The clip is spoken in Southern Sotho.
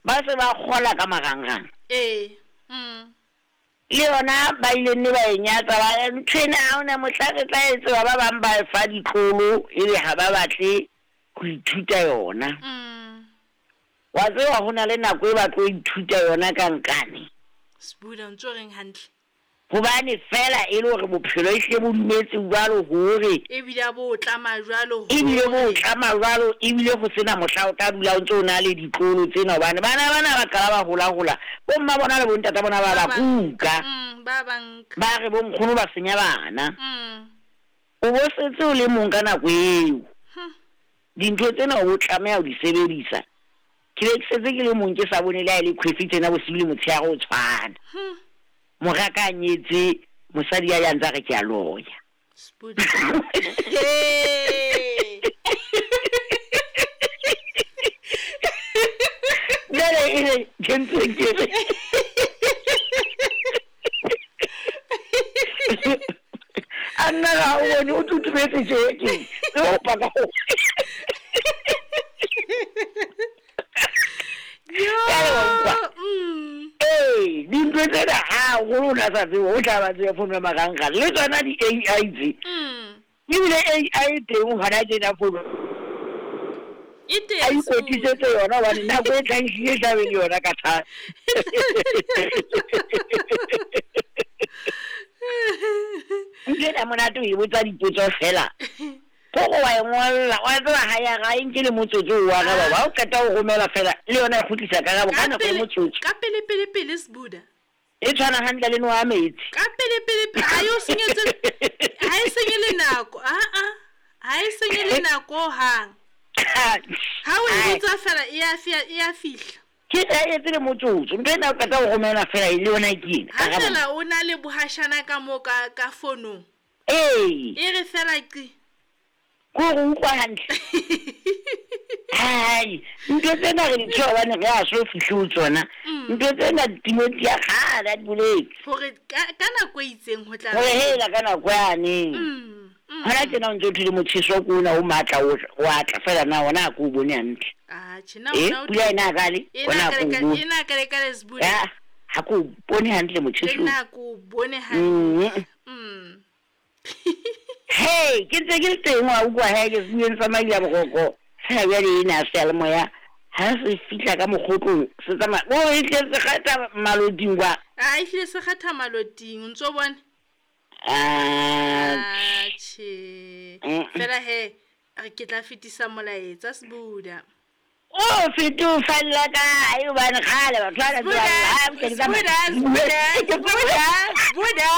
Ba se ba kgola ka marangrang. Ee. Mm. Le yona ba ile nne ba e nyatsa ba re ntho ena ha hona mohla re tla e tseba ba bang ba e fa ditlolo ebe ha ba batle ho ithuta yona. Mm. Wa tseba ho na le nako e ba tlo ithuta yona ka nkane. Sbuda o ntso reng hantle? Hobane feela e le hore bophelo ehlile bo dumetse jwalo hore. Ebile a bo o tlama jwalo hore. Ebile bo o tlama jwalo, ebile ho sena mohla o tla dula o ntse o na le ditlolo tsena hobane bana bana ba qala ba hola-hola, bo mma bona le bo ntata bona ba ba kuka. Ba ba nka. Ba re bo nkgono ba senya bana. O bo setse o le mong ka nako eo. Dintho tsena o bo tlameha ho di sebedisa. Ke be ke setse ke le mong ke sa bone le ha e le khwefi tsena bosiu le motshehare o tshwana. Mora ka a nyetse mosadi ya ya ntsa re ke a loya. Jwale e re ke ntse ke re a nna ga o bone o tutumetse tje ke e opa ka go Ee, dintho tsena haholo o na sa tsebe o tla ba tseba founu ya marangrang le tsona di-A_I tse. Ebile A_I e teng hona tjena founu E teng a ikwetlisetse yona hobane nako e tlang ehlile e tla be le yona ka thata. Ntho ena monate o e botsa dipotso fela. Ko re wa e ngolla, wa tseba ha ya ga e nke le motsotso o araba. Ha o qeta ho romela fela le yona e kgutlisa karabo ka nako e motsotso. Ka pele pele pele Sbuda. E tshwana hantle le noha ya metsi. Ka pele pele pele ha e o senyetse ha e senye le nako. A a ha e senye le nako hang. Ha o e botsa fela e ya e ya fihla. Ke sa etse le motsotso. Ntho ena o qeta ho romela fela e le yona ke ena. Ha fela o na le bohashana ka mo ka fonong. Ee. E re fela qi. Ko re utlwa hantle. Hai, ntho tsena re di tshoha hobane re a so fihle ho tsona. Ntho tsena Timothy ya kgale a di boletse. Hore ka nako e itseng ho tla. Hore hela ka nako yane. Hona tjena o ntse o thole motjheso ke ona o matla o atla fela na ona ha ke o bone hantle. Atjhe na ona o. Pula ena kale ona ha ke o bone. Ena kale kale Sbuda. Ha ke o bone hantle motjheso. Ena ke o bone hantle. Mm. Hey, ke ntse ke le teng wa utlwa he ke sebueng sa Maila Boroko. Fela bjale ena seyalemoya ha se fihla ka mokgotlong se tsamaya o e tle se kgatha maloting kwa. A e hlile se kgatha maloting o ntso bone. Atjhe. Atjhe. Fela he re ke tla fetisa molaetsa Sbuda. O fete o falla kae hobane kgale batho ba Sbuda, Sbuda, Sbuda, Sbuda, Sbuda.